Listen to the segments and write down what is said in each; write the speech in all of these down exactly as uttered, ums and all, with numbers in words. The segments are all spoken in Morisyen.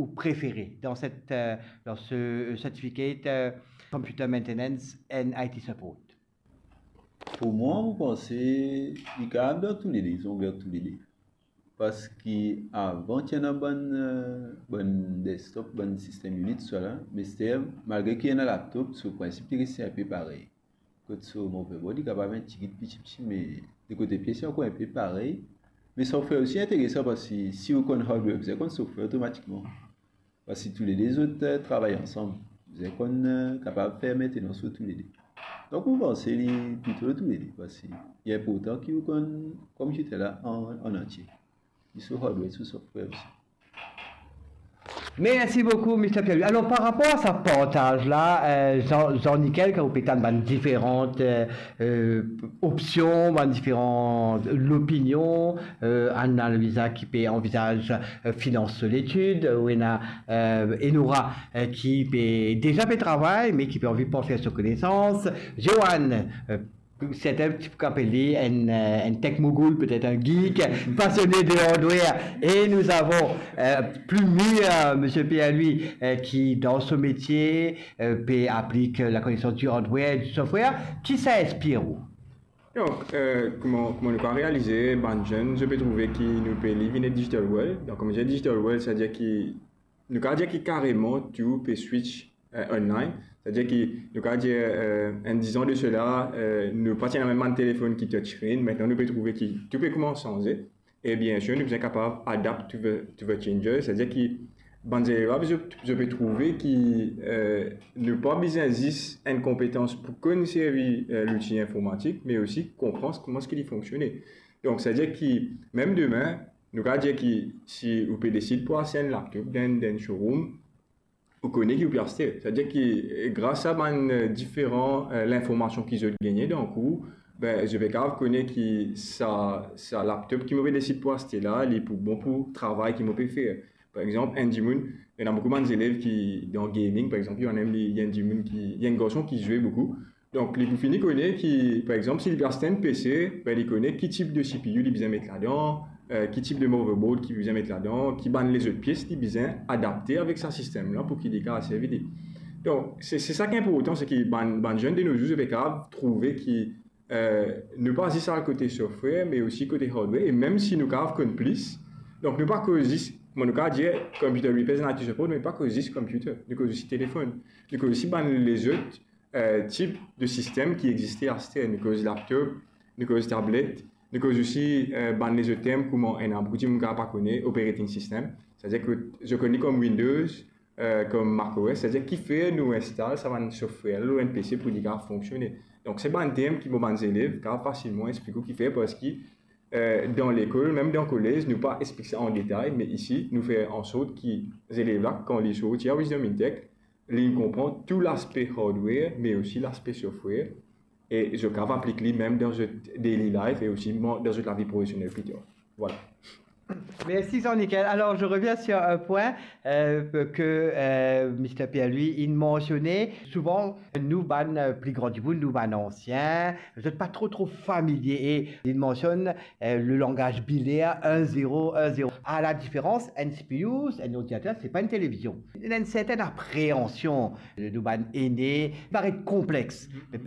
ou préféré dans cette, euh, dans ce certificate, euh, Computer Maintenance and I T Support? Pou mwa, mo panse li kapav dan toulede, li zong dan toulede. Parski avan ti ena bann, eh, bann desktop, bann sistem Unix, tousala, me ster, malgre ki ena laptop, so prinsip li reste inpe parey. Kot so motherboard, li kapav enn tigit piti piti, me de kote pies, li ankor inpe parey. Me software osi interesan, parski si ou konn hardware, ou bizin konn software otomatikman. Parski toulede zot, eh, travay ansam. Bizin konn, eh, kapav fer maintenance lor toulede. Donk, mo panse li plito toulede, parski li inportan ki ou konn computer la an, an antie. Li so hardware, so software osi. Merci beaucoup, Mister Pierre-Louis. Alors, par rapport à ce partage-là, euh, Jean, Jean-Nickel, kan ou pe tann bann diferan, euh, euh, opsion, bann diferan opinion, euh, Anna Luisa ki pe anvizaz, euh, finans so letid, euh, ou ena, euh, Enora, euh, ki pe deza pe travay, me ki pe anvi partaze so konesans, Joanne, euh, sertin ti pe apel li enn, euh, enn tech mogul, petet enn geek, pasione de hardware. Et nous avons, euh, plus mûr, euh, Monsieur Pierre-Louis, euh, qui, dans ce métier, euh, pe aplik lakonesans du hardware, du software. Ki sa inspir ou? Donk, euh, kouma, kouma nou kapav realize, bann zenn, zot pe trouve ki nou pe live in a digital world. Donk, kouma dir digital world, savedir ki nou kapav dir ki kareman tou pe switch, euh, online. Savedir ki nou kapav dir, euh, enn dizan de sela, euh, nou pa ti ena mem bann telefonn ki touchscreen. Aster nou pe trouve ki tou pe koumans sanze. E biensir, nou bizin kapav adapt to the, to the changes. Savedir ki bann zelev la, zot, zot pe trouve ki, euh, nou pa bizin zis enn konpetans pou konn servi, euh, louti informatik, me osi konpran kouma eski li fonksione. Donk, savedir ki mem demin, nou kapav dir ki si ou pe desid pou aste enn laptop dan, dan enn showroom, ou kone ki ou pe aste. Savedir ki, eh, gras a bann, eh, diferan, eh, linformasion ki zot gagne, donk ou, be, zot pe kapav kone ki sa, sa laptop ki mo pe desid pou aste la, li pou bon pou travay ki mo pe fer. Par exanp, enn dimoun, ena boukou bann zelev ki dan gaming, par exanp, ena enn, li, enn dimoun ki, enn garson ki zwe boukou, Donk, li pou fini kone ki, par exanp, si li pe aste enn P C, be, li kone ki tip de C P U li bizin met ladan, eh, ki tip de motherboard ki bizin met ladan, ki bann lezot pies li bizin adapte avek sa sistem la pou ki li kapav servi li. Donk, se, se sa ki inportan, se ki bann, bann zenn de nos jours, zot pe kapav trouve ki, eh, nou pa zis al kote software, me osi kote hardware, e mem si nou kapav konn plis, donk nou pa koz zis, kouma nou kapav dir, computer repairs and I T support, me pa koz zis computer, nou koz osi telefonn, nou koz osi bann lezot eh, tip de sistem ki existe aster. Nou koz laptop, nou koz tablet, nou koz osi, eh, bann lezot term kouma ena boukou dimoun kapav pa kone, operating system. Savedir ki zot konn li kom Windows, eh, kom macOS, savedir kifer nou instal sa bann software lor enn P C pou li kapav fonksione. Donk, se bann term ki mo bann zelev kapav fasilman explik ou kifer, parski eh, dan lekol, mem dan kolez, nou pa explik sa an detay, me isi, nou fer ansort ki zelev la, kan li sorti a Wisdom in Tech, li konpran tou laspe hardware, me osi laspe software, e zot kapav aplik li mem dan zot daily life e osi dan zot lavi profesionel pli tar. Vwala. Merci Jean-Nickel. Alors, je reviens sur un point, euh, que, euh, Mister Pierre-Louis, il mentionnait. Souvent, nou bann, euh, pli gran dimoun, nou bann ansien, zot pa tro, tro familie. E li mansionn, euh, le langaz biler, un zéro un zéro. A la diferans, enn C P U, enn ordinater, se pa enn televizion. Ena enn sertenn apreansion de nou bann ene, paret konplex.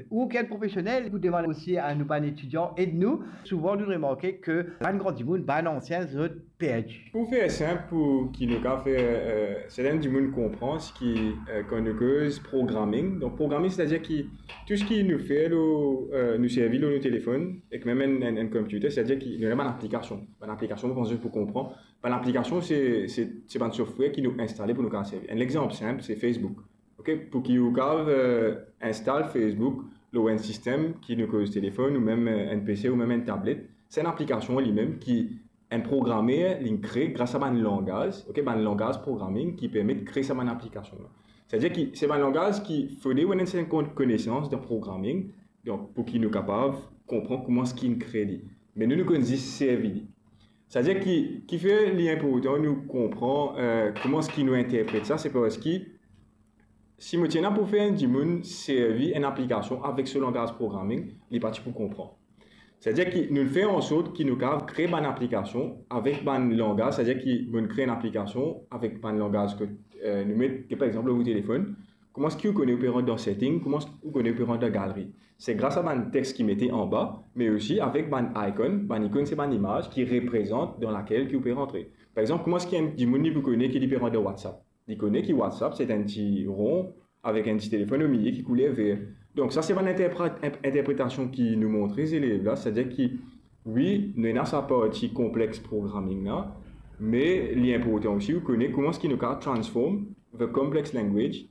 Ou ki enn profesionel, pou demann osi a nou bann etidian, ed nou. Souvan, nou remarke ki bann gran dimoun, bann ansien, zot perdi. Pou fer sinp, pou ki nou kapav fer, eh, serten dimoun konpran, se ki, eh, kan nou koz programming, donk programming, setadir ki tou seki nou fer lor, eh, nou servi lor nou telefonn, ek mem enn, enn, enn computer, setadir ki nou ena bann aplikasion. Bann aplikasion, mo panse pou konpran. Bann aplikasion, se, se, se bann software ki nou instale pou nou kapav servi. Enn lexanp sinp, se Facebook. Ok, pou ki ou kapav, eh, install Facebook lor enn sistem ki nou koz telefonn ou mem, eh, enn P C ou mem enn tablet, se enn aplikasion limem ki enn programer li kree gras a bann langaz, ok, bann langaz programming ki permet kree sa bann aplikasion la. Setadir ki se bann langaz ki fode ou ena enn serten kon-, konesans dan programming, donk pou ki nou kapav konpran kouma seki kree li. Me nou, nou konn zis servi li. Setadir ki, kifer li inportan nou konpran, eh, kouma seki nou interpret sa, se parski si mo ti ena pou fer enn dimoun servi enn aplikasion avek so langaz programming, li pa ti pou konpran. Savedir ki nou fer ansort ki nou kapav kre bann aplikasion avek bann langaz, savedir ki nou kre enn aplikasion avek bann langaz ke, eh, nou met, ke par exanp, lor ou telefonn, kouma eski ou kone ou pe rant dan setting, kouma eski ou kone ou pe rant dan galeri. Se gras a bann text ki mete anba, me osi avek bann icon, bann ikonn se bann imaz ki reprezant dan lakel ki ou pe rantre. Par exanp, kouma eski enn dimoun li pou kone ki li pe rant dan WhatsApp? Li kone ki WhatsApp se enn ti ron avek enn ti telefonn omilie ki kouler ver. Donk sa se bann interpre-, inp-, interpretasion ki nou montre zelev la, savedir ki, wi, nou ena sa parti complex programming la, me li inportan osi ou kone kouma eski nou kapav transform the complex language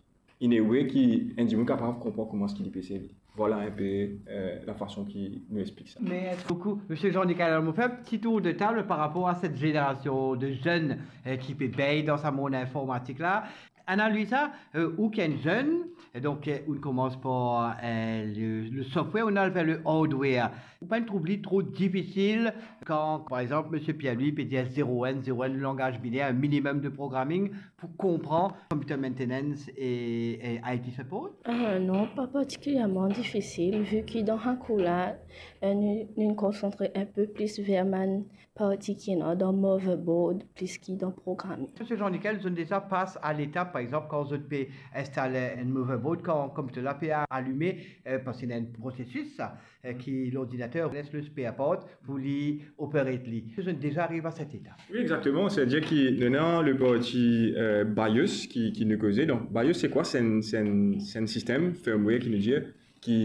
in a way ki enn dimoun kapav konpran kouma eski li pe servi. Vwala enpe, eh, lafason ki nou explik sa. Merci beaucoup, Monsieur Jean-Nicolas. On fait un petit tour de table par rapport à cette génération de jeunes, euh, qui baignent dans ce monde informatique-là. Ana Luisa, euh, ou ki enn zenn, e donk, euh, ou komans par, euh, le, le software, ou al ver le hardware. Ou pa trouv li tro difisil kan, par exanp, Monsieur Pierre-Louis pe dir zero un, zero un, langaz biner, un minimum de programming pou konpran computer maintenance e, e I T support? Ah, non, pa partikilierman difisil, vi ki dan sa kour la, eh, nou, nou konsantre enpe plis ver bann parti ki ena dan motherboard plis ki dan programming. Monsieur Jean-Nicolas, zot inn deza pas a letap, par exanp, kan zot pe instal enn motherboard, kan computer la pe a-, alime, eh, parski ena enn prosesis sa, eh, ki lordinater les le spare part pou li operate li. Zot inn deza ariv a set etap? Wi, exakteman. Savedir ki nou ena le parti, eh, BIOS ki, ki nou koze. Donk, BIOS se kwa? Se enn, se enn, se enn sistem firmware ki nou dir, ki,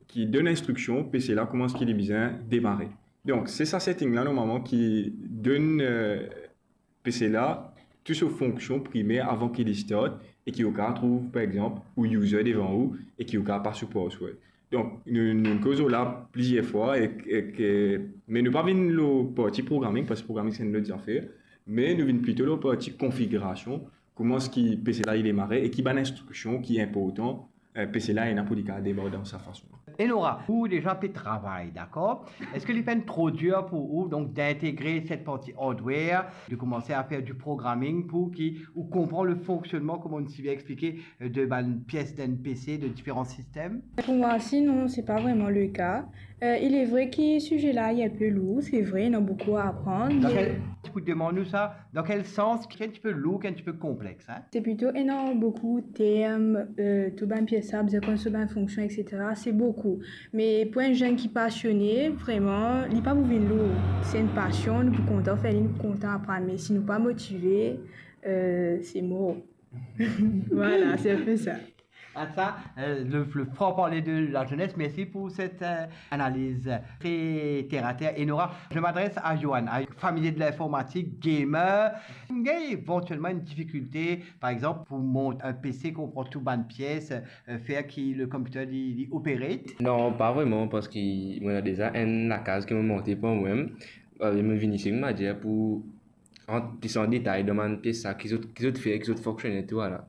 ki donn instriksion PC la kouma eski li bizin demare. Donk, se sa setting la, normalman, ki donn, eh, PC la tou so fonksion primer avan ki li start e ki ou kapav trouv, par exanp, ou user devan ou e ki ou kapav pas ou password. Donk, nou, nou koz la plizier fwa e, e ke, me nou pa vinn lor parti programming, parski programming se enn lot zafer, me nou vinn plito lor parti konfigirasion, kouma eski PC la li demare e ki bann instriksion ki inportan, eh, PC la ena pou li kapav demar dan sa fason. Enora, ou deza pe travay, dakor? Eski li finn tro dir pou ou, donk, d'integre set parti hardware, de komanse a fer du programming pou ki ou konpran le fonksionnman, kouma ou ti bien explike, eh, de bann pies dan enn PC, de diferan sistem? Pou mwa, sinon, se pa vreman le ka. Eh, il est vrai ki size la, li enpe lour, se vre, ena boukou a aprann, me... Donk, ti pou demann ou sa, dan kel sans, ki enn tipe lour, ki enn tipe konplex, hein? Se plito ena boukou term, eh, tou bann pies sa, bizin konn so bann fonksion, et cetera. Se boukou. Me pou enn zenn ki pasione, vreman, li pa pou vinn lour. Se enn pasion, nou pou kontan fer li, nou pou kontan aprann. Me si nou pa motive, eh, se mor. Vwala, se enpe sa. Ah, sa, eh, le, le franc parler de la jeunesse. Merci pour cette, eh, analyse très terre à terre. Enora, je m'adresse à Johan, un familier de l'informatique, gamer. Ou gagn evantielman enn difikilte, par exanp, pou mont enn PC, konpran tou bann pies, eh, fer ki le computer li, li operate? Non, pa vreman, parski mo ena deza enn lakaz ki mo monte par momem. Eh, mo vinn isi, mo dir, pou rant plis an detay dan bann pies sa, ki zot, ki zot fer, ki zot fonksione, tou, vwala.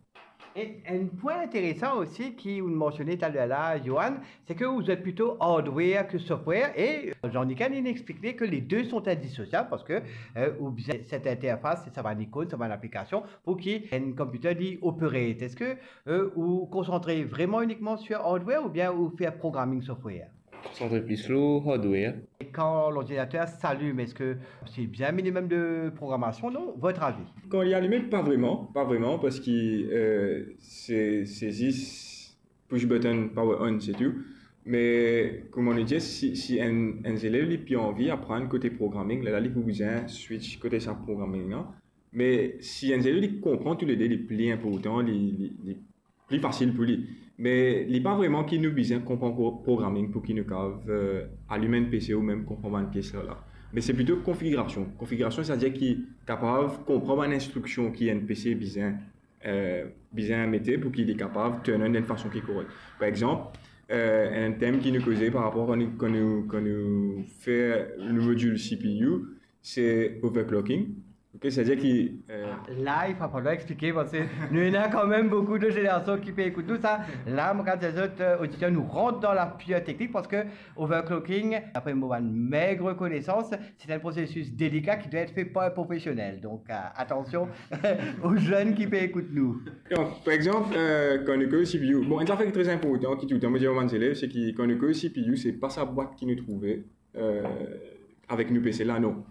E enn pwin interesan osi ki ou mansione taler la, Johan, se ke ou zwe plito hardware ki software, e Jean-Nicolas, li explik ke les deux sont indissociables parski, eh, ou bizin set interfas, sa bann ikonn, sa bann aplikasion, pou ki enn computer li operate. Eski, eh, ou konsantre vreman inikman sur hardware oubien ou fer programming software? Konsantre plis lor hardware. E kan lordinater s'alime, eski se bien minimum de programasion, non? Votre avis? Kan li alime, pa vreman, pa vreman, parski, eh, se, se zis push button, power on, se tou. Me, kouma nou dir, si, si enn, enn zelev li pli anvi aprann kote programming, lerla li pou bizin switch kote sa programming la. Me si enn zelev li konpran toulede, li pli inportan, li, li, li pli fasil pou li. Me li pa vreman ki nou bizin konpran pro-, programming pou ki nou kapav, eh, alim enn PC ou mem konpran bann pies la. Me se plito konfigirasion. Konfigirasion, savedir ki kapav konpran bann instriksion ki enn PC bizin, eh, bizin mete pou ki li kapav turn on dan enn fason ki korek. Par exanp, eh, enn term ki nou koze par rapor kan nou, kan nou, kan nou fer le modil CPU, se overclocking. Ok, savedir ki, eh... Ah, la, li va falwar explike, parski nou ena kanmem boukou de zenerasion ki pe ekout nou sa. La, mo kapav dir zot, eh, oditer, nou rant dan la pire teknik, parski overclocking, dapre mo bann meg konesans, se enn prosesis delika ki dwa et fe par enn profesionel. Donk, eh, atansion o zenn ki pe ekout nou. Donk, par exanp, eh, kan nou koz CPU, bon, enn zafer ki tre inportan, ki toultan mo dir bann zelev, se ki kan nou koz CPU, se pa sa bwat ki nou trouve, euh, avek nou pe sela, non.